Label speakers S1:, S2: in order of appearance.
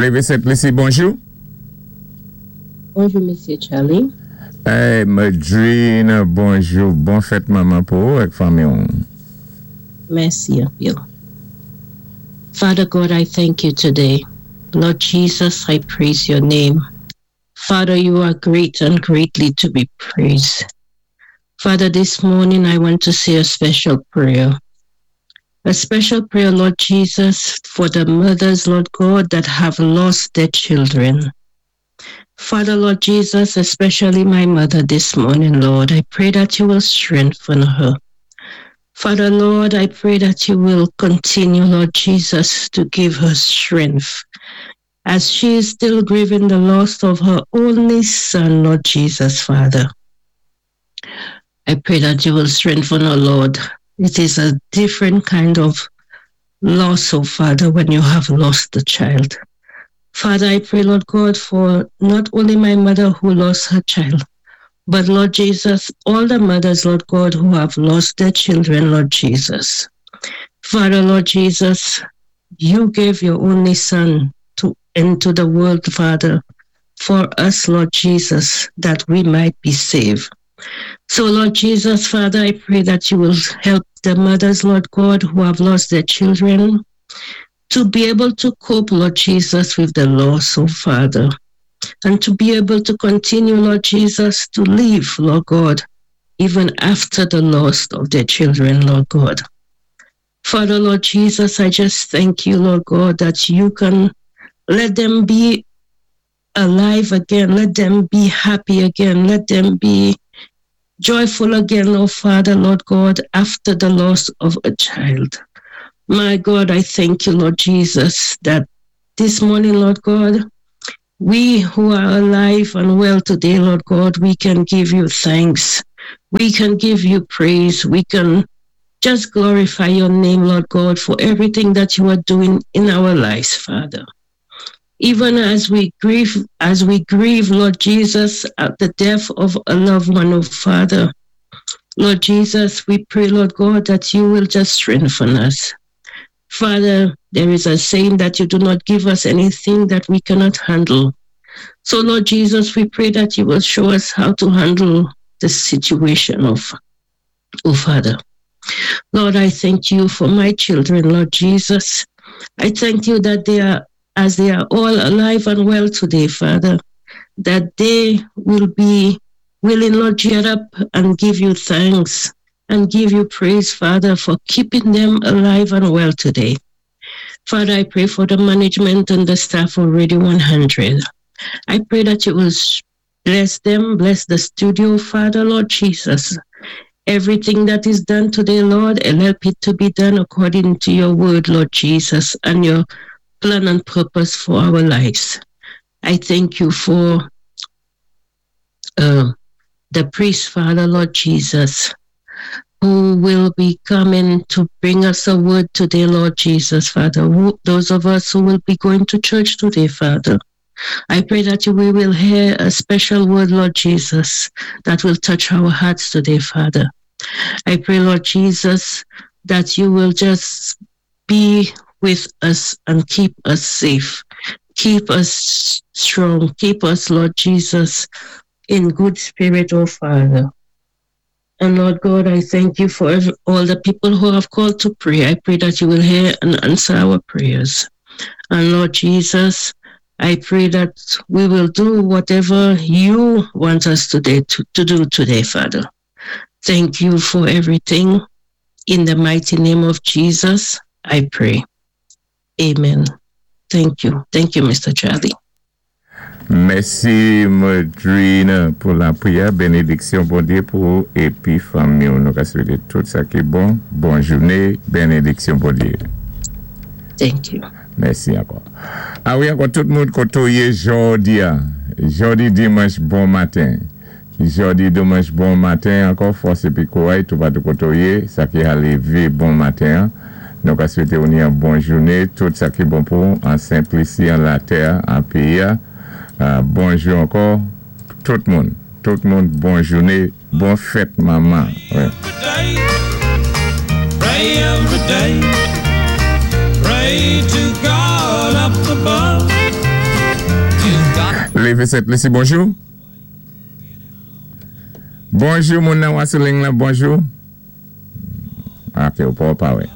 S1: Lévé Sent Lisi, bonjou.
S2: Bonjou, Misyé Charlie.
S1: Hey, Madrine, bonjou. Bon fèt manman pou ou ak fanmi.
S2: Mèsi anpil. Father God, I thank you today. Lord Jesus, I praise your name. Father, you are great and greatly to be praised. Father, this morning I want to say a special prayer. A special prayer, Lord Jesus, for the mothers, Lord God, that have lost their children. Father, Lord Jesus, especially my mother this morning, Lord, I pray that you will strengthen her. Father, Lord, I pray that you will continue, Lord Jesus, to give her strength as she is still grieving the loss of her only son, Lord Jesus, Father. I pray that you will strengthen her, Lord. It is a different kind of loss, oh Father, when you have lost a child. Father, I pray, Lord God, for not only my mother who lost her child, but Lord Jesus, all the mothers, Lord God, who have lost their children, Lord Jesus. Father, Lord Jesus, you gave your only Son to into the world, Father, for us, Lord Jesus, that we might be saved. So, Lord Jesus, Father, I pray that you will help the mothers, Lord God, who have lost their children to be able to cope, Lord Jesus, with the loss, oh Father, and to be able to continue, Lord Jesus, to live, Lord God, even after the loss of their children, Lord God. Father, Lord Jesus, I just thank you, Lord God, that you can let them be alive again. Let them be happy again. Let them be joyful again, oh Father, Lord God, after the loss of a child. My God, I thank you, Lord Jesus, that this morning, Lord God, we who are alive and well today, Lord God, we can give you thanks. We can give you praise. We can just glorify your name, Lord God, for everything that you are doing in our lives, Father. Even as we grieve, as we grieve, Lord Jesus, at the death of a loved one, oh Father, Lord Jesus, we pray, Lord God, that you will just strengthen us. Father, there is a saying that you do not give us anything that we cannot handle. So, Lord Jesus, we pray that you will show us how to handle the situation of, oh Father. Lord, I thank you for my children, Lord Jesus. I thank you that they are, as they are all alive and well today, Father, that they will be willing, Lord, get up and give you thanks and give you praise, Father, for keeping them alive and well today. Father, I pray for the management and the staff of Radio 100. I pray that you will bless them, bless the studio, Father, Lord Jesus. Everything that is done today, Lord, and help it to be done according to your word, Lord Jesus, and your plan and purpose for our lives. I thank you for the priest, Father, Lord Jesus, who will be coming to bring us a word today, Lord Jesus, Father. Who, those of us who will be going to church today, Father. I pray that we will hear a special word, Lord Jesus, that will touch our hearts today, Father. I pray, Lord Jesus, that you will just be with us and keep us safe. Keep us strong. Keep us, Lord Jesus, in good spirit, oh Father. And Lord God, I thank you for all the people who have called to pray. I pray that you will hear and answer our prayers. And Lord Jesus, I pray that we will do whatever you want us today to do today, Father. Thank you for everything. In the mighty name of Jesus, I pray. Amen. Thank you. Thank you, Mr. Charlie.
S1: Mèsi Modrine pou lapwiyè, benediksyon Bondyé pou ou épi fanmi ou. Nou ka swété tout sa ki bon. Bon jouné, benediksyon Bondyé.
S2: Thank you.
S1: Mèsi ankò. A wi ankò tout moun koté ou yé jòdi a. Jòdi dimanch bon maten. Jòdi dimanch bon maten ankò fòs épi kouray toupatou koté ou yé sa ki ha lévé bon maten an. Nou ka swété ou ni an bon jouné tout sa ki bon pou ou an Sent Lisi an latè an péyi a. Bonjou ankò tout moun. Tout moun bon jouné bon fèt manman.
S3: Pray every day. Pray to God up above.
S1: Lévé Sent Lisi, bonjou. Bonjou, moun nan, ou sou liy la, bonjou. Ok, ou pa wè.